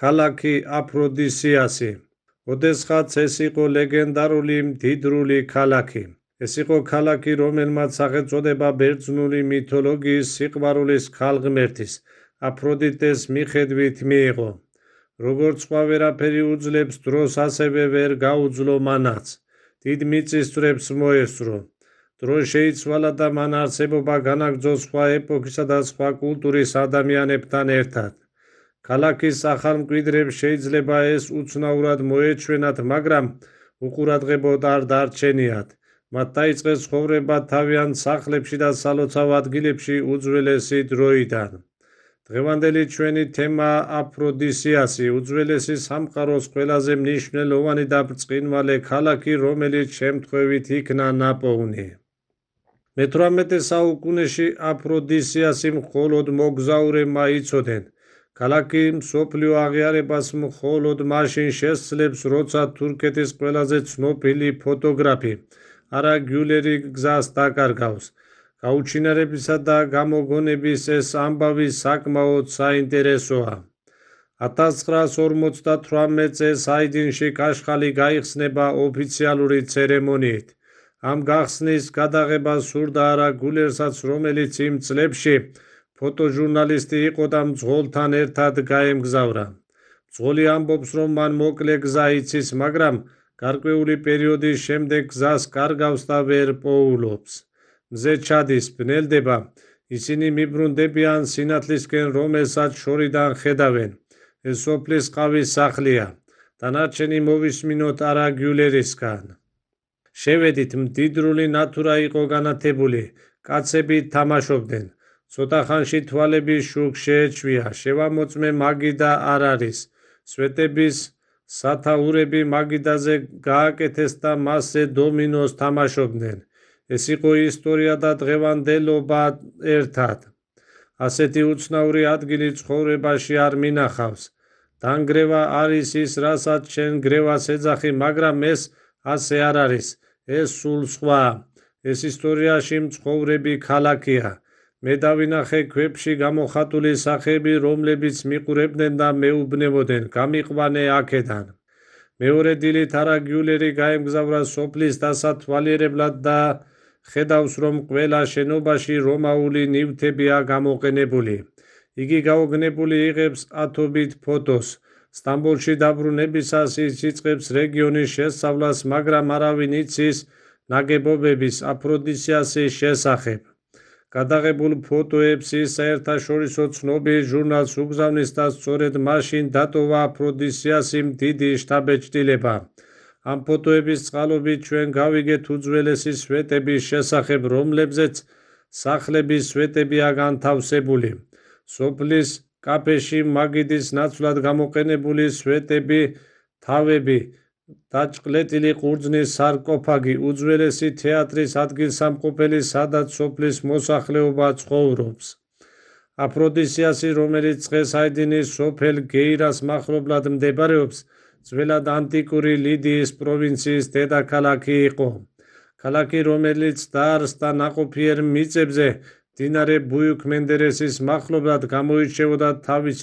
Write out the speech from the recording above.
ქალაქი აფროდისიასი. ოდესღაც ეს იყო ლეგენდარული მდიდრული ქალაქი. ეს იყო ქალაქი, რომელმაც სახელწოდება ბერძნული მითოლოგიის სიყვარულის ქალღმერთის აფროდიტეს მიხედვით მიიღო. როგორც სხვა ვერაფერი უძლებს დროს, ასევე ვერ გაუძლო მანაც. დიდ მიწისძვრებს მოესწრო. დრო შეიცვალა და მან არსებობა განაგრძო სხვა ეპოქისა და სხვა კულტურის ადამიანებთან ერთად. ქალაქის ახალ მკვიდრებს შეიძლება ეს უცნაურად მოეჩვენათ, მაგრამ უყურადღებოდ არ დარჩენიათ. მათ დაიწყეს ცხოვრება თავიანთ სახლებში და სალოცავ ადგილებში უძველესი დროიდან. დღევანდელი ჩვენი თემაა აფროდისიასი, უძველესი სამყაროს ყველაზე მნიშვნელოვანი და ბრწყინვალე ქალაქი, რომელიც შემთხვევით იქნა ნაპოვნი. მე-18 საუკუნეში აფროდისიასი მხოლოდ მოგზაურებმა იცოდნენ. ქალაქი მსოფლიო აღიარებას მხოლოდ მაშინ შესძლებს, როცა თურქეთის ყველაზე ცნობილი ფოტოგრაფი არა გიულერი გზას დაკარგავს. გაუჩინარებისა და გამოგონების ეს ამბავი საკმაოდ საინტერესოა. 1958 წელს აიდინში კაშხალი გაიხსნება ოფიციალური ცერემონიით. ამ გახსნის გადაღება სურდა არა გულერსაც, რომელიც იმ წლებში ფოტოჟურნალისტი იყო და მძღოლთან ერთად გაემგზავრა. მძღოლი ამბობს, რომ მან მოკლე გზა იცის, მაგრამ გარკვეული პერიოდის შემდეგ გზას კარგავს და ვერ პოულობს. მზე ჩადის, ბნელდება, ისინი მიბრუნდებიან სინათლისკენ, რომელსაც შორიდან ხედავენ. ეს სოფლის ყავის სახლია. დანარჩენი მოვისმინოთ არა გიულერისგან. შევედით, მდიდრული ნათურა იყო განათებული, კაცები თამაშობდნენ. ცოტა ხანში თვალების შუქ შეეჩვია, შევამოწმე მაგიდა არ არის. სვეტების სათაურები მაგიდაზე გააკეთეს და მასზე დომინოს თამაშობდნენ. ეს იყო ისტორია და დღევანდელობა ერთად. ასეთი უცნაური ადგილი ცხოვრებაში არ მინახავს. დანგრევა არის ის, რასაც შენ გრევას ეძახი, მაგრამ ეს ასე არ არის. ეს სულ სხვა. ეს ისტორიაში მცხოვრები ქალაქია. მე დავინახე ქვებში გამოხატული სახეები, რომლებიც მიყურებდნენ და მეუბნებოდნენ, გამიყვანე აქედან. მეორე დილით არა გიულერი გაემგზავრა სოფლის დასათვალიერებლად და ხედავს, რომ ყველა შენობაში რომაული ნივთებია გამოყენებული. იგი გაოგნებული იღებს ათობით ფოტოს. სტამბოლში დაბრუნებისას ის იწყებს რეგიონის შესწავლას, მაგრამ არავინ იცის ნაგებობების აფროდისიასის შესახებ. გადაღებულ ფოტოებს ის საერთაშორისო ცნობილ ჟურნალს უგზავნის და სწორედ მაშინ დატოვა აფროდისიასი დიდი შთაბეჭდილება. ამ ფოტოების წყალობით ჩვენ გავიგეთ უძველესი სვეტების შესახებ, რომლებზეც სახლების სვეტებია განთავსებული. სოფლის კაფეში მაგიდის ნაცვლად გამოყენებული სვეტები, თავები, დაჭყლეტილი ყურძნის სარკოფაგი, უძველესი თეატრის ადგილსამყოფელი, სადაც სოფლის მოსახლეობა ცხოვრობს. აფროდისიასი, რომელიც დღეს აიდინის სოფელ გეირას მახლობლად მდებარეობს, ძველად ანტიკური ლიდიის პროვინციის დედაქალაქი იყო. ქალაქი, რომელიც დაარსდა ნაყოფიერ მიწებზე, მდინარე ბუიუქ მენდერესის მახლობლად, გამოირჩეოდა თავისი